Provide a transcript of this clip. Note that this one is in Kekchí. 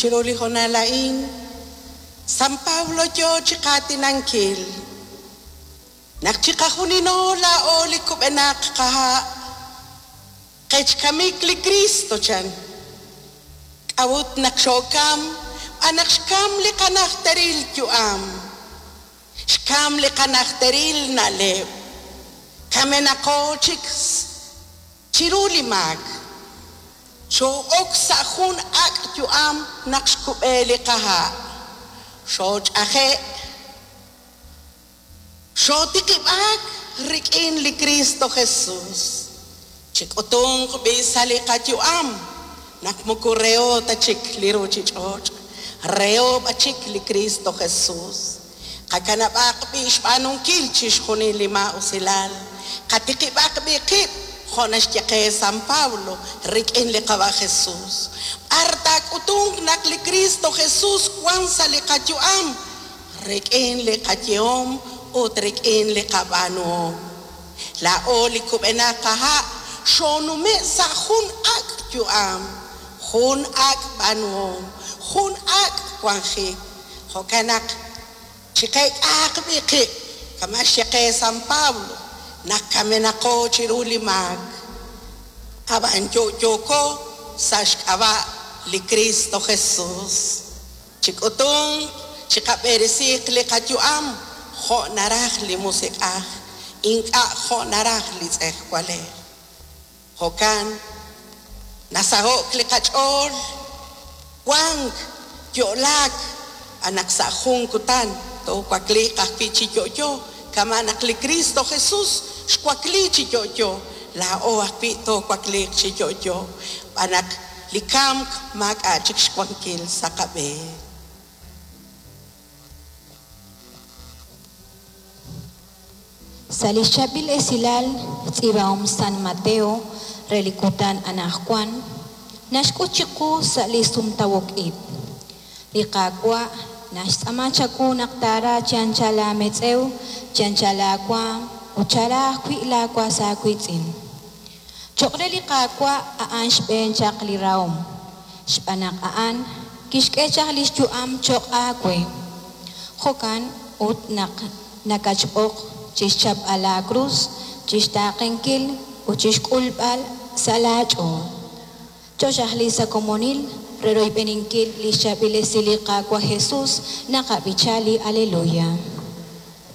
Chiru li hoonal a'in, San Pablo yoo chiqaatinankil naq chiqajunilo laa'o li kub'enaq qaha' qech kamik li Kristo chan. K'a'ut naq xookam? Xb'aan naq xkam li qanajteril yu'am, xkam li qanajteril na'leb', kamenaqo chik chiru li maak. Xoo'ok sa' jun ak' yu'am naq xkub'e li qaha', xooch'aje', xootiqib'aak rik'in li Kristo Jesus. Chik'utunq b'i' sa' li qayu'am naq moko reho ta chik li ruuchich'och', reho b'an chik li Kristo Jesus. Qakanab'aq b'i' xb'aanunkil chixjunil li maa'usilal, qatiqib'aq b'i' qib' jo' naxye qe San Pablo rik'in li Qawa' Jesus. B'ar taak'utunq naq li Kristo Jesus wank sa' li qayu'am? Rik'in li qayehom ut rik'in li qab'aanuhom. Laa'o li kub'enaq qaha' xoonume' sa' jun ak' yu'am, jun ak' b'aanuhom, jun ak' wanjik. Jo'kan naq chiqeek'ahaq b'i' qib' kama' xye qe San Pablo naq kamenaqo chiru li maak, ab'an yo'yooko sa' xk'ab'a' li Kristo Jesus. Chik'utunq, chiqab'eresiiq li qayu'am jo' naraj li Musiq'aj, ink'a' jo' naraj li tz'ejwalej. Jo'kan, nasaho'k li qach'ool, wank, yo'laak, xb'aan naq sa' jun kutan toowakliiq ajwi' chi yo'yo, kama' naq li Kristo Jesus xwakli chi yo'yo, laa'o ajwi' toowakliiq chi yo'yo, xb'aan naq li kamk maak'a' chik xwankil sa' qab'een. Sa' li xchaab'il esilal xtz'iib'ahom San Mateo re li kutan anajwan, naxk'ut chiqu sa' li sumtawok-ib'. Li Qaawa' naxtz'aama chawu naq taara chi anchal aametz'ew, chi anchal aawaam, ut chara ajwi' laa was aawiitz'in. Choq' re li Qaawa' a'an xb'een chaq li rahom, xb'aan naq a'an kixk'e chaq lix yu'am choq' aawe. Jo'kan ut naq nakatxb'oq chixchapb'al laa krus, chixtaaqenkil ut chixk'ulb'al sa' laa ch'ool. Chooxaqli sa' komonil re royb'eninkil lix chaab'il esil li Qaawa' Jesus, naqab'icha li Aleluya.